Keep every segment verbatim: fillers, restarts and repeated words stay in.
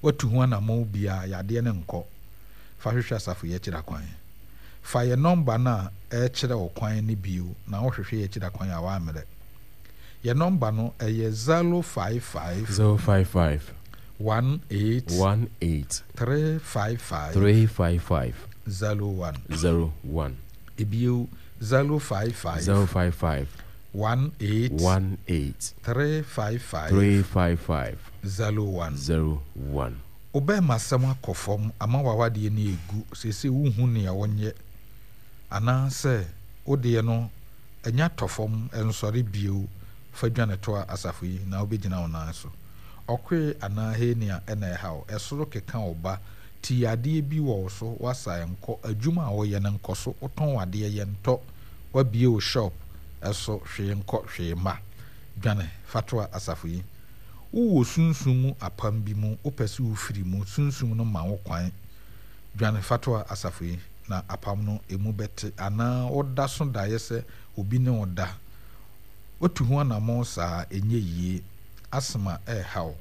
Woatu ho anammɔn biara, yadeɛ no nkɔ. Fa hwehwɛ asafo yi akyiri akwan. Fa yɛn nɔmba no a ɛrekyerɛ wo kwan no bio na wohwehwɛ yɛn akyiri akwan a woammrɛ. Yɛn nɔmba no, ɛyɛ zero five five. Zero five five. One eight. One eight. Three five five. Three five five. Zero one. Zero one. Ebio, zero five five. Zero five five. One eight. One eight. Three five five. Three five five. Zero one. Zero one. Wo bɛɛmasɛm akɔ fam ama w'awadeɛ no egu, seesei wonhu nea wonyɛ, anaasɛ wo deɛ no anya tɔ fam, ɛnsɔre bio, fa dwane toa asafo yi na wobɛgyina wo nan so. Ɔkoe anaa hernia na ɛha wo, ɛsoro keka wo ba, ti yadeɛ bi wɔ wo so, woasa ɛnkɔ, adwuma a woyɛ no nkɔ so, wotɔn w'adeɛ yɛntɔ, woabue wo shop so hwee nkɔ hwee mma, dwane fa toa asafo yi. Wowɔ sunsum mu apam bi mu, wopɛ sɛ wofiri mu, sunsum no ma wo kwan. Dwane fa toa asafo yi, na apam no emu bɛte. Anaa woda so daeɛ sɛ obi ne wo da. Woatu ho anammɔn saa a, ɛnyɛ yie. Asthma reha wo,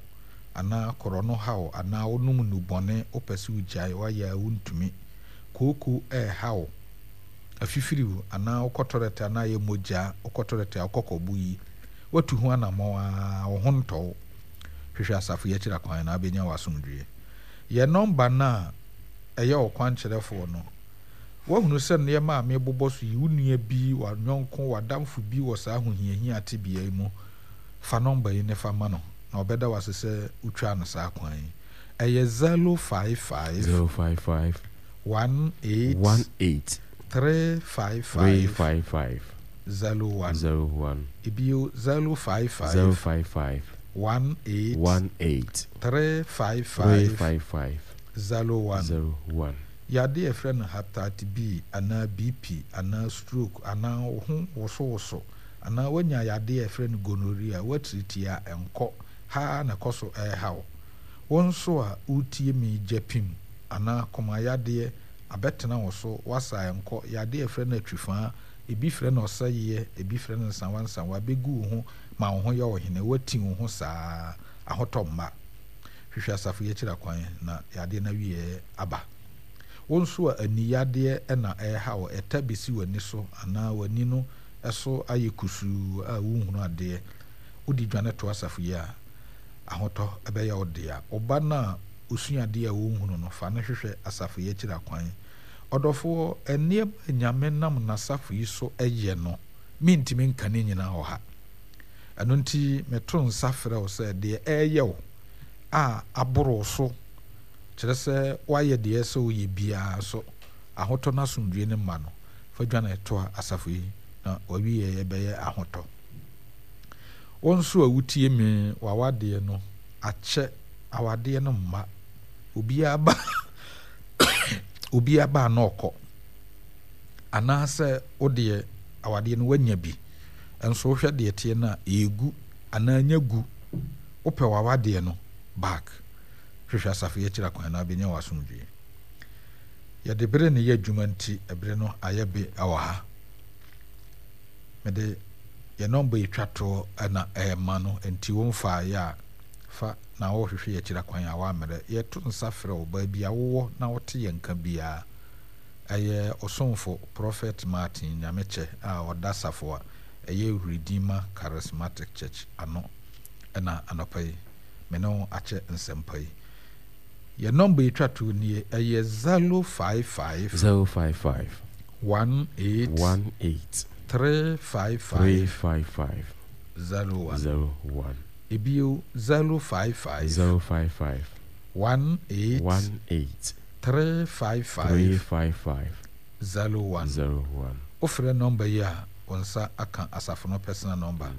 anaa korɔno ha wo, anaa wonom nnubɔne, wopɛ sɛ wogyae, woayɛ a wontumi. Kooko reha wo, afifiri wo, anaa wokɔ tɔlɛt a na ayɛ mogya, wokɔ tɔlɛt a wokɔ kɔbo yi. Woatu ho anammɔn ara, wo ho ntɔ wo. Hwehwɛ asafo yi akyiri akwan na wobɛnya w'asomdwoeɛ. Yɛn nɔmba no a ɛyɛ ɔkwankyerɛfoɔ no, woahunu sɛ nneɛma a merebobɔ so yi, wo nua bi, w'yɔnko, w'adamfo bi wɔ saa ahohiahia tebea yi mu. Fa nɔmba yi na fa ma no, na ɔbɛda wo ase sɛ wotwaa no saa kwan yi. Ɛyɛ zero five five. Zero five five. One eight. One eight. Three five five. Three five five. Zero one. Zero one. Ebio, zero five five. Zero five five. One eight. One eight. Three five five. Three five five. Zero one. Zero one. Yadeɛ a yɛfrɛ no hepatitis B anaa B P anaa stroke anaa wo ho wosowoso anaa woanya yadeɛ a yɛfrɛ no gonorrhea, woatiritii a ɛnkɔ ha na ɛkɔ so ɛreha wo. Wo nso a woretie me, gyapim anaa komayadeɛ abɛtena wo so, woasa ɛnkɔ, yadeɛ a yɛfrɛ no atwifaa, ebi frɛ no ɔsɛeɛ, ebi frɛ no nsawansawa, bɛgu wo ho ma wo ho yɛ wo hene, woati wo ho saa, ahotɔ mma. Hwehwɛ asafo yi akyiri akwan na yadeɛ no awieɛ aba. Wo nso a aniyadeɛ na ɛreha wo, ɛta bɛsi w'ani so anaa w'ani no so ayɛ kusuu a wonhunu adeɛ, wode dwane to asafo yi a, ahotɔ ɛbɛyɛ wo dea. Wo ba no a osua adeɛ a wonhunu no, fa no hwehwɛ asafo yi akyiri akwan. Ɔdɔfoɔ, nneɛma a Nyame nam n'asafo yi so yɛ no, mentumi nka ne nyinaa wɔ ha. Ɛno nti meto nsa frɛ wo sɛ deɛ ɛreyɛ wo a aboro wo so, kyerɛ sɛ woayɛ deɛ ɛsɛ woyɛ biara so, ahotɔ no asomdwie no mma no, fa dwane toa asafo yi na wawieɛ bɛyɛ ahotɔ. Wo nso a wotie me, w'awadeɛ no akyɛ, awadeɛ no mma. Obiara ba obiara ba na ɔkɔ. Anaasɛ wo deɛ awadeɛ no woanya bi, nso wohwɛ deɛ teɛ no a ɛregu anaa nya gu. Wopɛ w'awadeɛ no back. Hwehwɛ asafo yi akyiri akwan na wobɛnya w'asomdwie. Yɛde bere ne yɛ adwuma nti, ɛbere no ayɛ be wɔ ha. Mede yɛn nɔmba yi twa toɔ na ɛrema no, nti womfaeɛ a, fa na wohwehwɛ yɛn akyiri akwan a woammrɛ. Yɛto nsa frɛ wo baabi a wowɔ na wote yɛn nka biara. Ɛyɛ ɔsomfo Prophet Martin Nyamekyɛ a ɔda asafo a ɛyɛ Redeemer Charismatic Church ano ɛna anɔpa yi me ne wo akyɛ nsɛmpa yi. Yɛn nɔmba yi twa toɔ nie, ɛyɛ zero five five. Zero five five. One eight. One eight. Three five five. Three five five. Zero one. Zero one. Ebio, zero five five. Zero five five. One eight. One eight. Three five five. Three five five. Zero one. Zero one. Wofrɛ nɔmba yi a, wo nsa aka asafo no personal number.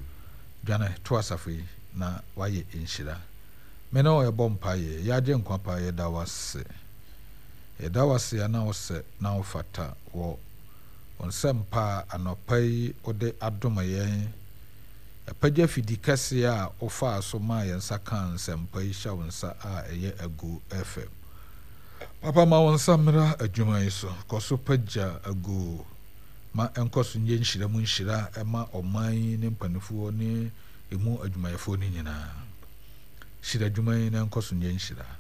Dwane to asafo yi na wayɛ nhyira. Me ne wo ɛbɔ mpaeɛ, yɛagye nkwa pa, yɛda wo ase. Yɛda wo ase a na wo sɛ na wo fata wɔ wo nsɛmpa a anɔpa yi wode adom yɛn. Apagya fidi kɛseɛ a wofaa so maa yɛn nsa kaa nsɛmpa yi hyɛ wo nsa a ɛyɛ Agu F M. Papa, ma wo nsa mmra adwuma yi so. Kɔ so pagya Agu ma ɛnkɔ so nyɛ nhyira mu nhyira ɛma ɔman yi ne mpanimfoɔ ne emu adwumayɛfoɔ no nyinaa. Hyira adwuma yi na ɛnkɔ so nyɛ nhyira.